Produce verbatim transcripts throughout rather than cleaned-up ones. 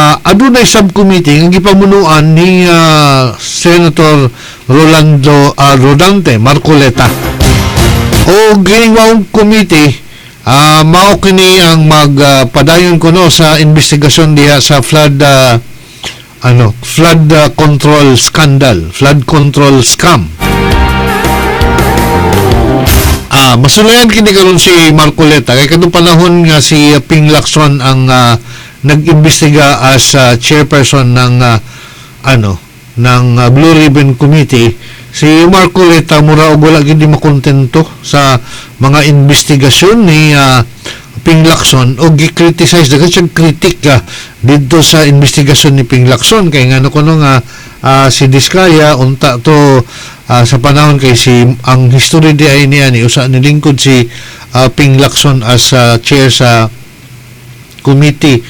uh, adunay subcommittee nga gipamunuan ni uh, Senator Rolando uh, Rodante Marcoleta. O kining maong committee, uh, mao kini ang magpadayon uh, kuno sa investigasyon diha sa flood uh, ano flood uh, control scandal, flood control scam. Ah, masulayan kini karon si Marcoleta kay kadtong panahon nga si Ping Lacson ang uh, nag-imbestiga as uh, chairperson ng uh, ano ng uh, Blue Ribbon Committee. Si Marcoleta mura og wala gid makontento sa mga investigasyon ni uh, Ping Lacson o gi-criticize, daghan siyang critic uh, didto sa investigasyon ni Ping Lacson kay ngano kuno nga uh, si Diskaya unta to uh, sa panahon kay si ang history di ay niya ni usa nilingkod si uh, Ping Lacson as uh, chair sa committee,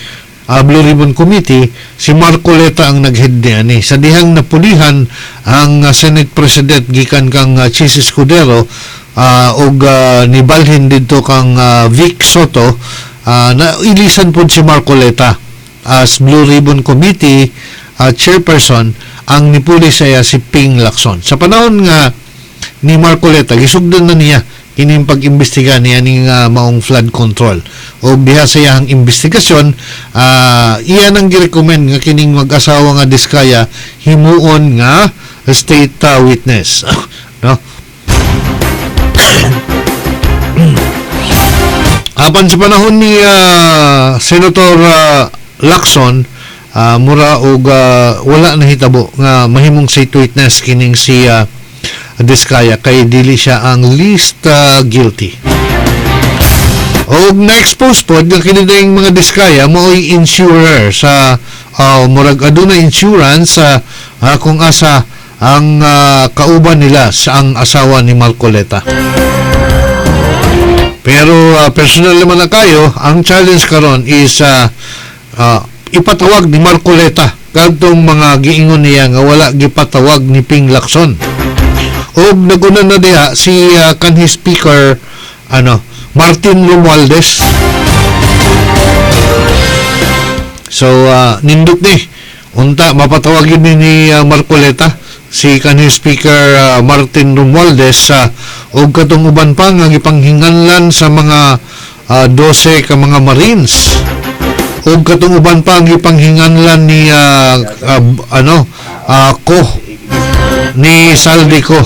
uh, Blue Ribbon Committee. Si Marcoleta ang nag-head niya ni sa dihang napulihan ang uh, Senate President gikan kang uh, Chiz Escudero uh, og uh, nibalhin didto kang uh, Vic Sotto, uh, na ilisan pod si Marcoleta as Blue Ribbon Committee uh, chairperson. Ang nipuli siya si Ping Lacson. Sa panahon nga ni Marcoleta, gisugdan na niya kining pag-imbestiga niya ning uh, maong flood control. O diha sa iyang investigasyon, uh, iya nang girecommend nga kining mag-asawa nga Diskaya himuon nga state uh, witness, no? Apan sa panahon ni uh, Senator uh, Lacson, uh, mura og uh, wala nahitabo nga mahimong state witness kining si uh, Diskaya kay dili siya ang least uh, guilty. Og na-expose pod nga kini dayong mga Diskaya mao'y insurer sa uh, murag aduna insurance sa uh, uh, kung asa ang uh, kauban nila sa ang asawa ni Marcoleta. Pero uh, personal naman na kayo, ang challenge karon is uh, uh, ipatawag ni Marcoleta kadtong mga giingon niya nga wala gipatawag ni Ping Lacson. Og naguna na diha si uh, kanhi speaker ano Martin Romualdez. So uh, nindot ni unta mapatawag yun ni, ni uh, Marcoleta si kanhi speaker uh, Martin Romualdez uh, og katong uban pa nga gipanghinganlan sa mga uh, dose ka mga Marines og katong uban pa ang gipanghinganlan ni uh, uh, ano uh, ko ni Zaldy Co.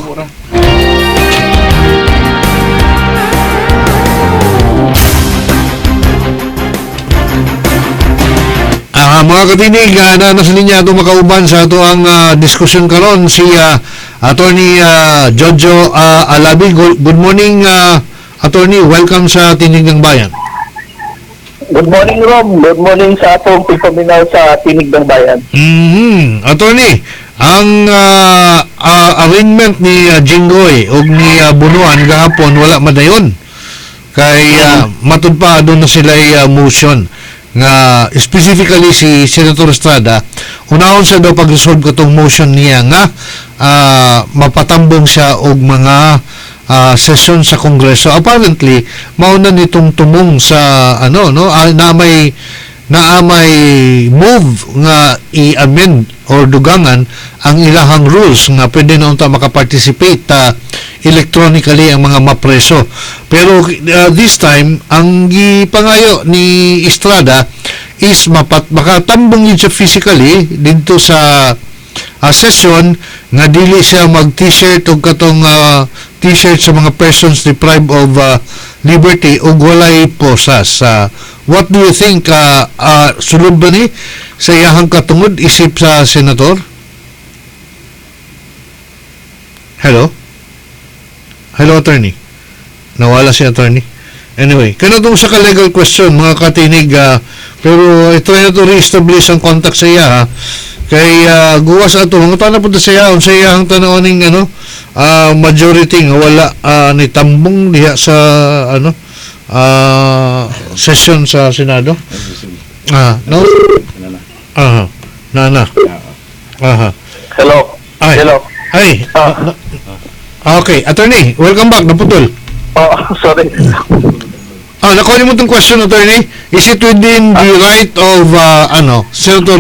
Ah, mga katinig, uh, na nasa linya ato makauban sa ato ang uh, diskusyon karon si uh, Attorney uh, Jojo uh, Alabi. Good, good morning, uh, Attorney. Welcome sa Tinig ng Bayan. Good morning, Rom. Good morning sa atong pagpaminaw sa Tinig ng Bayan. Mm-hmm. Attorney, ang uh, uh, arraignment ni uh, Jinggoy og ni uh, Bunuan gahapon wala madayon. Kay uh, matud pa doon na sila uh, motion nga specifically si Senator Estrada unahon siya daw pag-resolve katong motion niya nga uh, mapatambong siya og mga uh, session sa Kongreso. Apparently mao na nitong tumong sa ano no uh, na may na may move nga i-amend or dugangan ang ilahang rules nga pwede na unta makaparticipate uh, electronically ang mga mapreso. Pero uh, this time ang gipangayo ni Estrada is mapat makatambong yun siya physically didto sa uh, session nga dili siya mag t-shirt o katong uh, t-shirt sa mga persons deprived of uh, liberty ug walay posas. Uh, what do you think, uh, uh, sulod ba ni sa iyahang katungod isip sa senator? Hello? Hello, attorney. Nawala si attorney. Anyway, kanatong sa ka-legal question, mga katinig, uh, pero uh, try na to re-establish ang contact sa iya, ha? Kay uh, guwas ato, mga tana po sa iya, sa iyahang tanaw ning ano, uh, majority nga wala uh, ni tambong diha sa ano uh, session sa Senado. Ah, no? Aha. Na na. Aha. Hello. Ay. Hello. Ay. Ah. Okay, attorney, welcome back. Naputol. Oh, sorry. Ah, nakuha niyo mo itong question, attorney. Is it within the right of uh, ano, Senator